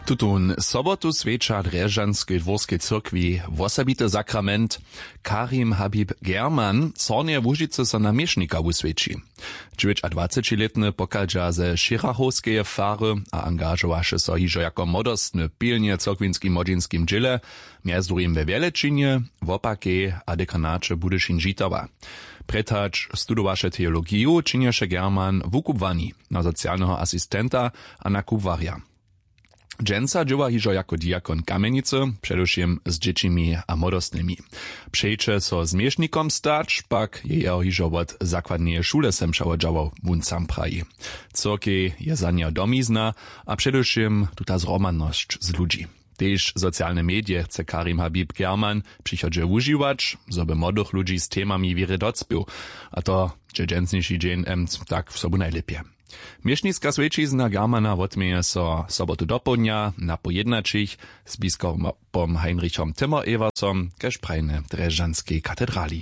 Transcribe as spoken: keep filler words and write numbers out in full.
Tutón sobotu swjeća w drježdźanskej dwórskej cyrkwi wosebity sakrament. Karim Habib German w Hornjeje Łužicy so na měšnika wuswjeći. Dźewjećadwacećilětny pochadźa ze šěrachowskeje fary a angažowaše so hižo jako młodostny w pilnje cyrkwinskim młodźinskim dźěle, mjez druhim we wjelečinje, wopakej a dekanaće budyšin žitawa. Prjed hač studowaše teologiju, činješe German wukubłani na socialneho asistenta a na kubłarja. Dźensa dźěła hižo jako diakon w Kamjenicy, předewšěm z dźěćimi a młodostnymi. Přejće so změšnikom stać, pak je jeho hižo wot zakładneje šule sem přewodźało, wón sam praji. Cyrkej je za njeho domizna a předewšěm tuta zhromadnosć z ludźi. Tež socialne medije chce Karim Habib German w přichodźe wužiwać, zo by młodych ludźi z temami wěry docpěł. A to dźe dźensniši dźeń em tak w sobu najlěpje. Měšniska swjećizna Germana wotměje so sobotu dopołdnja na pojednaćich z biskopom Heinrichom Timmer-Eversom kaž prajnje w Drježdźanskej katedrali.